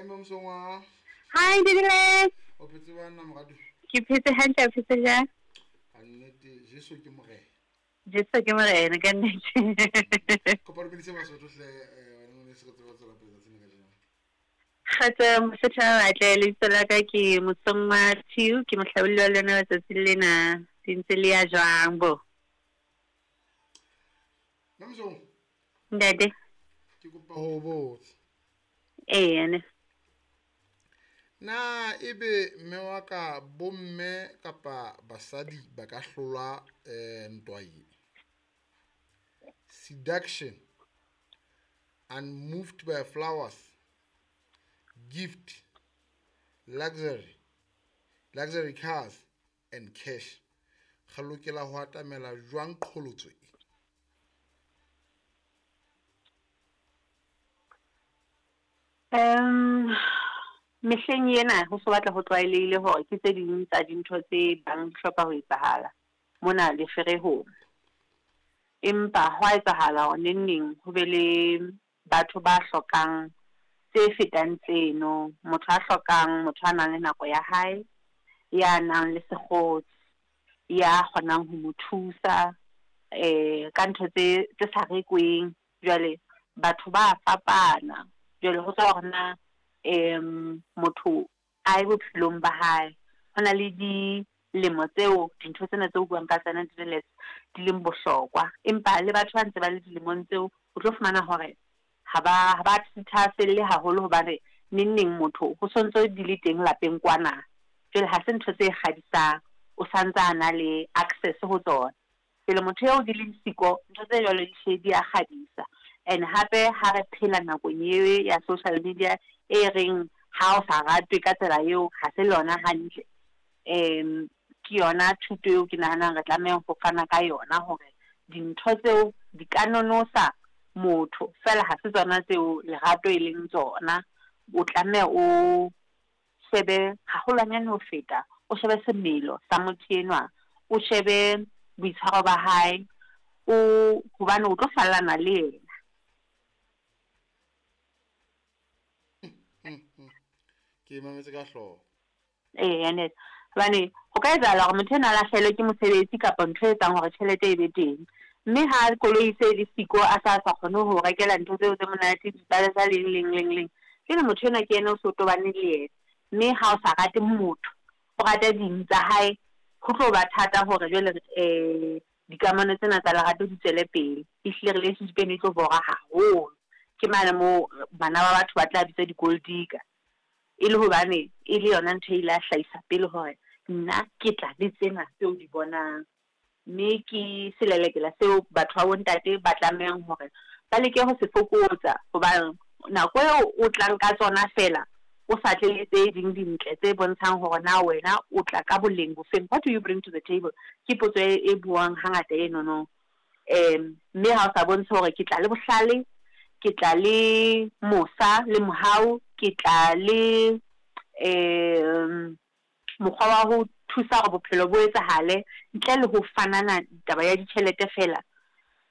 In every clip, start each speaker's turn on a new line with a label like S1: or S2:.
S1: Mme Mosongwa.
S2: Hi, Didiles.
S1: O phetse jwang na moradi?
S2: Ke phetse hantle, o phetse jwang?
S1: Ka nnete, Jesu ke morena.
S2: Jesu ke morena ka nnete.
S1: Kopa dumedise Basotho hle, wena ngwaneso re tsebe ho tswela pele tsatsing la kajeno.
S2: Kgotso Mosotho a batle, lebitso la ka ke Mosongwa Thiu, ke mohlabolli wa lona wa tsatsing lena. Di ntse le ya jwang bo?
S1: Mme Mosongwa.
S2: Ntate.
S1: Ke kopa ho botsa.
S2: Eya ne.
S1: Na ebe mme wa ka bomme kapa basadi ba ka hlola ntwa e? Seduction, unmoved by flowers, gift, luxury, luxury cars and cash. Re lokela ho atamela jwang qholotso e?
S2: Um, mehleng ena ho so batla ho tlwaelehile hore ke tse ding tsa dintho tse bang di hloka ho etsahala mona leferehong. Empa hwa etsahala hore neng neng ho be le batho ba hlokang tse fetang tseno. Motho a hlokang motho a nang le nako ya hae, ya nang le sekgotsi, ya kgonang ho mo thusa ka ntho tse tse sa rekweng. Jwale batho ba fapana, jwale ho tswa hore na motho a ye bophelong ba hae. Ho na le dilemo tseo dintho tsena tseo buang ka tsona di di leng bohlokwa. Empa le batho ba ntse ba le dilemong tseo, o tlo fumana hore ha ba thahaselle haholo hobane neng neng motho ho sontso di le teng lapeng kwana. Jwale ha se ntho tse kgadisang, o santse a na le access ho tsona. Pele motho eo di leng siko, ntho tse jwalo di hle di a kgadisa. And hape ha re phela nakong e ya social media e reng ha o sa ratwe ka tsela eo, ha se lona hantle. Ke yona thuto eo ke nahanang re tlameha ho fana ka yona hore dintho tseo di ka nonosa motho fela ha se tsona tseo lerato e leng tsona. O tlameha o shebe haholwanyane ho feta, o shebe semelo sa motho enwa, o shebe boitshwaro ba hae, o hobane o tlo fallana le yena.
S1: Ke mametse ka hlooho.
S2: Eya ntate. Hobane ho ka etsahala hore motho enwa a lahlehelwe ke mosebetsi kapa ntho e etsang hore tjhelete e be teng. Mme ha koloi se le siko a sa sa kgone ho rekela ntho tseo tse monate, dipalesa leng leng leng leng. Jwale motho enwa ke yena o so tobane le yena. Mme ha o sa rate motho, o rata ding tsa hae, ho tlo ba thata hore jwale dikamano tsena tsa lerato di tswele pele. Ehlile relationship eno e tlo bora haholo. Ke mane moo bana ba batho ba tla bitsa di-gold digger. E le hobane e le yona ntho e ile a hlahisa pele hore nna ke tla le tsena tseo di bonang. Mme ke selelekela seo batho ba bontate ba tlamehang hore ba leke ho se fokotsa. Hobane nako eo o tlang ka tsona fela, o sa tle le tse ding dintle tse bontshang hore na wena o tla ka boleng bofeng. What do you bring to the table? Ke potso e buang hangata enono. Mme ha o sa bontshe hore ke tla le bohlale, ke tla le mosa le mohau, ke tla le mokgwa wa ho thusa hore bophelo bo etsahale ntle le ho fanana taba ya ditjhelete fela.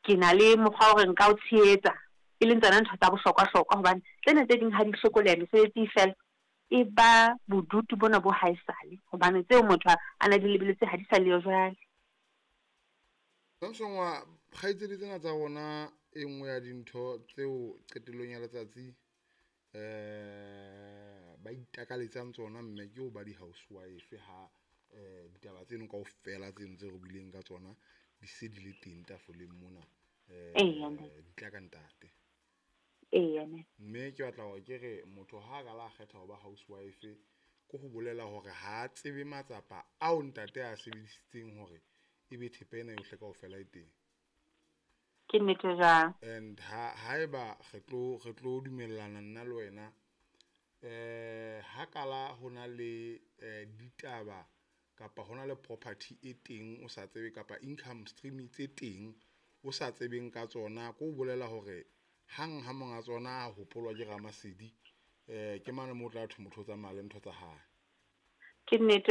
S2: Ke na le mokgwa wa hore nka o tshehetsa, e leng tsona ntho tsa bohlokwa-hlokwa hobane tsena tse ding ha di hlokoleha mesebetsi e fela, e ba bodutu bona bo haesale hobane tseo motho a na di lebelletse ha di sa leyo jwale.
S1: Samsongwa, kgaitsedi tsena tsa rona e nngwe ya dintho tseo qetellong ya letsatsi ba itakaletsang tsona mme ke ho ba di-housewife ha ditaba tseno kaofela tseno tse re buileng ka tsona di se di le teng tafoleng mona, di tla ka ntate.
S2: Eya ne.
S1: Mme ke batla hore ke re motho ha ka la kgetha ho ba housewife ke ho bolela hore ha a tsebe matsapa ao ntate a sebedisitseng hore ebe thepa ena yohle kaofela e teng.
S2: Ke nnete jwang?
S1: And ha haeba re tlo dumellana nna le wena, ha kala ho na le ditaba kapa hona le property e teng o sa tsebe kapa income stream tse teng o sa tsebeng ka tsona, ko bolela hore hang ha monga tsona a hopolwa ke Ramasedi, ke mane moo o tla thwe motho o tsamaya le ntho tsa hae.
S2: Ke nnete.